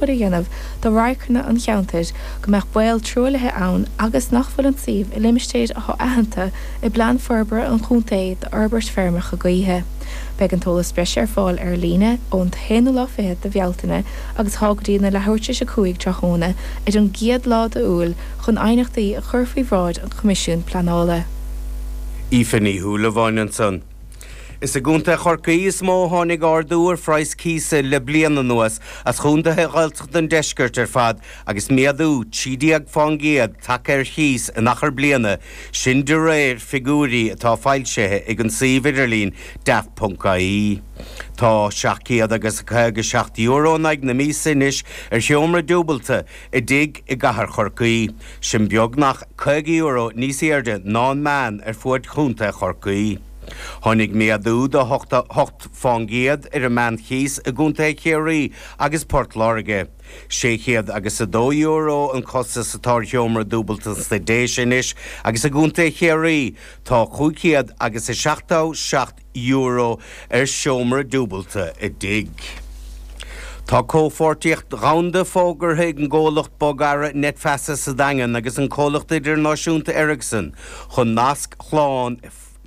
A dhéanamh do radharcanna an cheantair, go mbeadh baol truaillithe ann agus nach bhfuil an suíomh i limistéir atá aitheanta i bPlean Forbartha an Chontae d'fhorbairt feirmeacha gaoithe. Beidh an t-eolas breise ar fáil ar líne ón t-aonú lá fichead de Bhealtaine agus tá go dtí na leathuair tar éis 5 tráthnóna ar an gcéad lá d'Iúil chun aighneachtaí a chur faoi bhráid an Choimisiúin Pleanála. Aoife Ní Shúilleabháin ansan. Is i gContae Chorcaí is mó a tháinig ardú ar phraghas cíosa le bliain anuas as chontaetha Ghaeltachta an deiscirt ar fad agus méadú 13% tagtha ar chíos in achar bliana, sin de réir figiúirí atá foilsithe ag an suíomh idirlín daft.ie. Tá €757 in aghaidh na míosa anois ar sheomra dúbailte i dtigh i gcathair Chorcaí, sin beagnach €50 níos airde ná an meán ar fuaid chontae Chorcaí. Tháinig méadú de 8% ar an meánchíos i gcontaetha Chiarraí agus Port Láirge. €602 an costas atá ar sheomra dúbailte sna Déise anois agus i gcontae Chiarraí tá €577 ar sheomra dúbailte i dtigh. Tá comhpháirtíocht dhomhanda fógartha ag an gcomhlacht bogearra Netfasa sa Daingean agus an comhlacht idirnáisiúnta Ericsson chun nasc shlán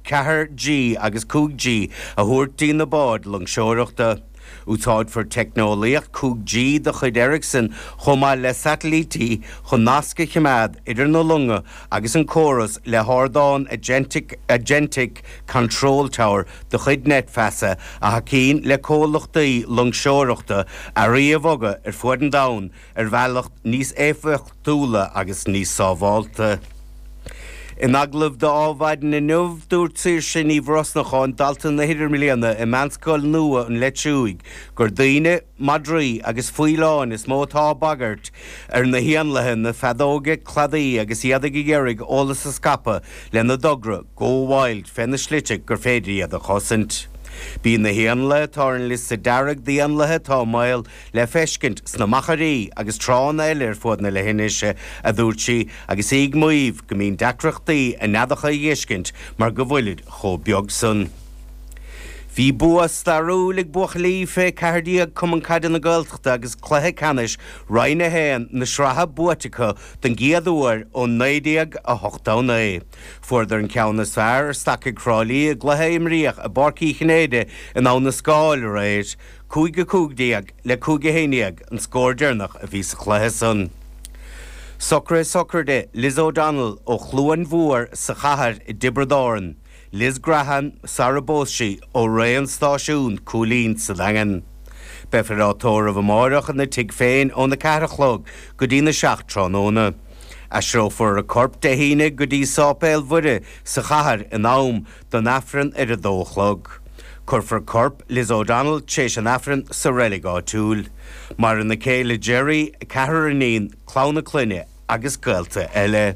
4G agus 5G a thabhairt dtí na báid loingseoireachta. Úsáidfear teicneolaíocht 5G de chuid Ericsson chomh maith le satailítí chun nasc a choimeád idir na longa agus an córas le hardán Agentic Agentic Control Tower de chuid Netfasa a thacaíonn le comhlachtaí loingseoireachta earraí a bhogadh ar fuaid an domhain ar bhealach níos éifeachtúla agus níos sábhálta. In agallamh d'Adhmhaidin inniu, dúirt Saoirse Ní Bhrosnacháin, dalta na hidirbhliana i Meánscoil nua an Leitriúigh, gur daoine, madraí agus faoileáin is mó atá ag bagairt ar na héanlaithe na feadóige cladaí agus iad ag iarraidh eolas a scaipeadh lena dtogra Go Wild fé na slite gur féidir iad a chosaint. Bíonn na héanlaithe atá ar an liosta dearg d'éanlaithe atá i mbaol le feiscint sna machairí agus tránna eile ar fuaid na leithinise, a dúirt sí, agus í ag maíomh go mbíonn deacrachtaí a neadacha a dh'fheiscint mar go bhfuilid chomh beag san. Bhí bua stairiúil ag buachaillí fé 14 Cumann Caide na Gaeltachta agus cluiche ceannais Roinn 1 na sraithe buaite acu don gcéad uair ó 1989. Fuaireadar an ceann is fearr ar Stacaigh Thrá Lí i gcluiche a imríodh i bPáirc Uí Chinnéide in Abha na Scáil aréir. 5-15 le 5-11 an scór deireanach a bhí sa chluiche san. Socruithe sochraide Liz O'Donnell ó Chluain Mhór sa Chathair i dTiobraid Árann, Liz Grehan sara bpós sí ó Rae an Stáisiún, Cúilín sa Daingean. Beifear á tórramh amáireach ina tigh féin óna 4 a chlog go dtí na 7 tráthnóna. Aistreofar a corp Dé hAoine go dtí Sáipéal Mhuire sa Chathair in am don Aifreann ar a dó a chlog. Cuirfear corp Liz O'Donnell tréis an Aifrinn sa reilig áitiúil. Maireann a céile Gerry, a ceathrar iníon, clann a clainne agus gaolta eile.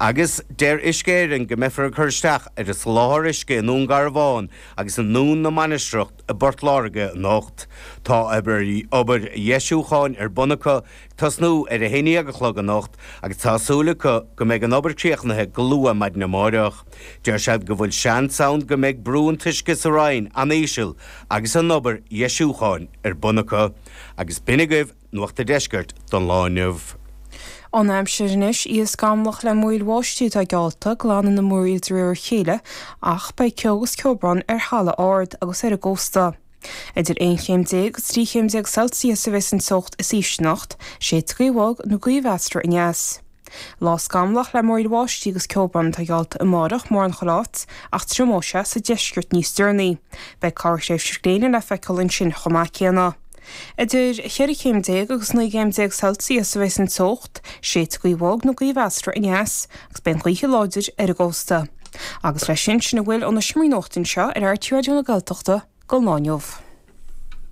Agus deir Uisce Éireann go mbeifear ag cur isteach ar an soláthar uisce i nDún Garbhán agus i nDún na Mainistreach i bPort Láirge anocht. Tá obair dheisiúcháin ar bun acu ag tosnú ar a haon dhéag a chlog anocht agus tá súil acu go mbeidh an obair críochnaithe go luath maidin amáireach. Deir siad go bhfuil seans ann go mbeidh brú an t-uisce sa Rinn an-íseal agus an obair dheisiúcháin ar bun acu. Agus b'in agaibh Nuacht a' Deiscirt don lá inniu. An aimsir anois, oíche scamallach le múraíl bháistí atá geallta, glanfaidh na múraíl de réir a chéile ach beidh ceo agus ceobhrán ar thalamh ard agus ar an gcósta. Idir 11 chéim agus 13 chéim Celsius a bheas an teocht is ísle anocht, séidfidh gaoth bhog nó gaoth mheasartha aneas. Lá scamallach le múraíl bháistí agus ceobhrán atá geallta amárach mórán chuile áit ach triomóidh sé sa deisceart níos deireanaí. Beidh corrthréimhse gréine le feiceáil ansin chomh maith céanna. Idir 14 chéim agus 19 gcéim Celsius a bheas an teocht, séidfidh gaoth bhog nó gaoth mheasartha aneas agus beidh an ghaoth láidir ar an gcósta. Agus leis sin, sin a bhfuil ó na seomraí nuachta anseo ar RTÉ Raidió na Gaeltachta don lá inniu.